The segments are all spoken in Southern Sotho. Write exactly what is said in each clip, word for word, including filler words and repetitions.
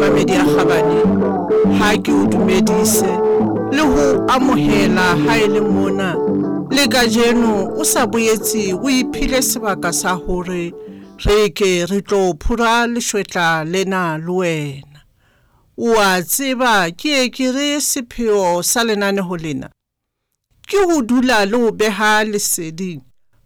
Momamedi ya kgabane, ha ke o dumedise le ho amohela ha e le mona le kajeno o sa boetse o iphile sebaka sa hore re ke re tlo phura leshwetla lena le wena. O a tseba ke ye ke re sepheo sa lenaneo lena ke ho dula le ho beha leseding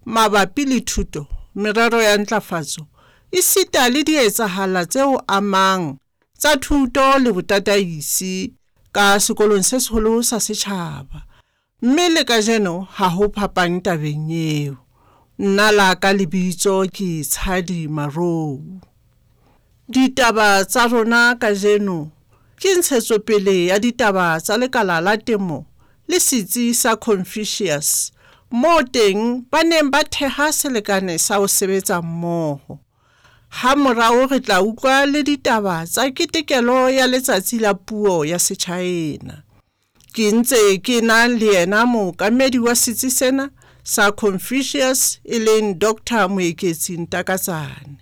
mabapi le thuto, merero ya ntlafatso esita le dietsahala tse o amang tsa thuto le botataisi ka sekolong se seholo sa setjhaba. Mme le kajeno ha ho phapang tabeng eo. Nna la ka lebitso ke Tshadi Marou. Ditaba tsa rona kajeno ke ntshetsopele ya ditaba tsa lekala la temo le setsi sa Confucius moo teng ba neng ba theha selekane sa ho sebetsa mmoho. Ha morao re tla utlwa le ditaba tsa ketekelo ya letsatsi la puo ya Setjhaena. Ke ntse ke na le yena mookamedi wa setsi sena sa Confucius e leng Doctor Moeketsi Ntakatsane.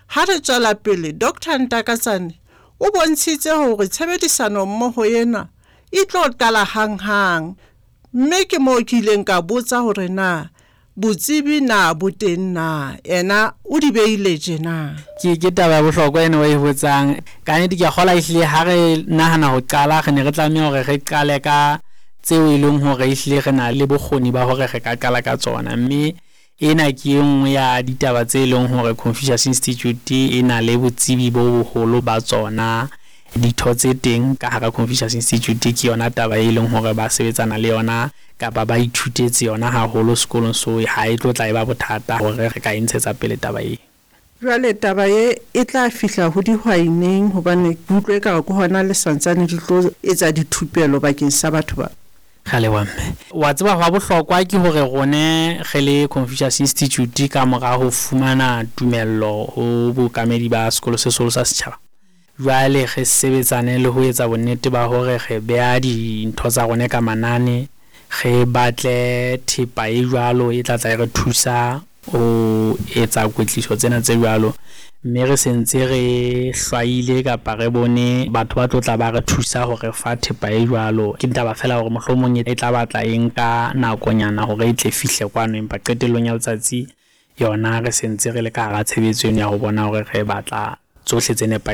Ha re tswela pele Doctor Ntakatsane o bontshitse hore tshebedisano mmoho ena e tlo qala hanghang, mme ke moo ke ileng ka botsa hore na botsebi na bo teng na, ena o di beile tjena. Ke ke taba ya bohlokwa ena o e botsang. Ka nnete ke a kgolwa ehlile ha re nahana ho qala re ne re tlameha hore re qale ka tseo e leng hore ehlile re na le bokgoni ba hore re ka qala ka tsona. Mme ena ke e nngwe ya ditaba tse leng hore Confucius Institute e na le botsebi bo boholo ba tsona. Ditho tse teng ka hara Confucius Institute ke yona taba e leng hore ba sebetsana le yona kapa ba ithutetse yona haholo sekolong, so ha e tlo tla e ba bothata hore re ka e ntshetsa pele taba e. Jwale taba e e tla fihla ho dihwai neng, hobane ke utlwe ekare ke hona le santsane di tlo etsa dithupelo bakeng sa batho ba? Re a leboha mme. Wa tseba hwa bohlokwa ke hore rone re le Confucius Institute ka mora ho fumana tumello ho bookamedi ba sekolo se seholo sa setjhaba, jwale re sebetsane le ho etsa bonnete ba hore re beha dintho tsa rona ka manane, re batle thepa e jwalo e tla tla e re thusa ho etsa kwetliso tsena tse jwalo. Mme re sentse re hlwaile kapa re bone batho ba tlo tla ba re thusa hore fa thepa e jwalo. Ke taba feela hore mohlomong e tla batla e nka nakonyana hore e tle fihle kwano, empa qetellong ya letsatsi yona re sentse re le ka hara tshebetso eno ya ho bona hore re batla tsohle tse nepahetseng.